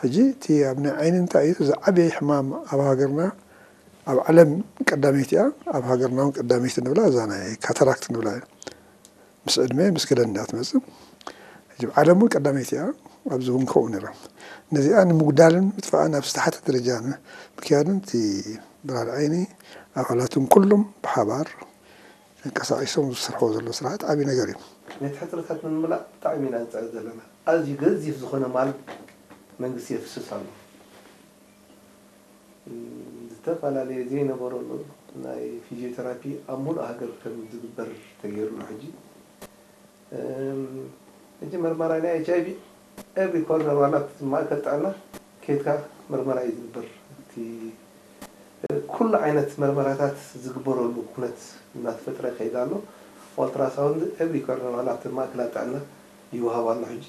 ሕጂ እቲ ኣብ ናይ ዓይኒ እንታይ እዩ ዝዓበየ ሕማም ኣብ ሃገርና ኣብ ዓለም ቀዳመይቲ እያ። ኣብ ሃገርና እውን ቀዳመይቲ ንብላ እዛ ናይ ካታራክት ንብላ እያ። ምስ ዕድመ ምስ ገደል እንዳትመጽእ ሕጂ ዓለም እውን ቀዳመይቲ እያ። ኣብዚ እውን ከምኡ ነይራ። ነዚኣ ንምጉዳልን ምጥፋእን ኣብ ዝተሓተ ደረጃ ምክያድን እቲ ብርሃን ዓይኒ ኣባላትን ኩሉም ብሓባር ተንቀሳቒሶም ዝሰርሕዎ ዘሎ ስራሕቲ ዓብዪ ነገር እዩ። ነቲ ሕፅረታት ንምምላእ ብጣዕሚ ኢና ንፅዕር ዘለና። ኣዝዩ ገዚፍ ዝኾነ ማል መንግስቲ የፍስስ ኣሎ። ዝተፈላለዩ ዘይነበረሉ ናይ ፊዚዮቴራፒ ኣብ ሙሉእ ሃገር ከም ዝግበር ተገይሩ ኣሎ። ሕጂ ሕጂ መርመራ ናይ ኤች ኣይ ቪ ኤቭሪ ኮርነር ዋላ ማእከል ጥዕና ኬድካ መርመራ እዩ ዝግበር። እቲ ኩሉ ዓይነት መርመራታት ዝግበረሉ ኩነት እናተፈጥረ ይኸይድ ኣሎ። ኦልትራሳውንድ ኤቭሪ ኮርነር ዋላ ኣብቲ ማእከላት ጥዕና ይወሃብ ኣሎ። ሕጂ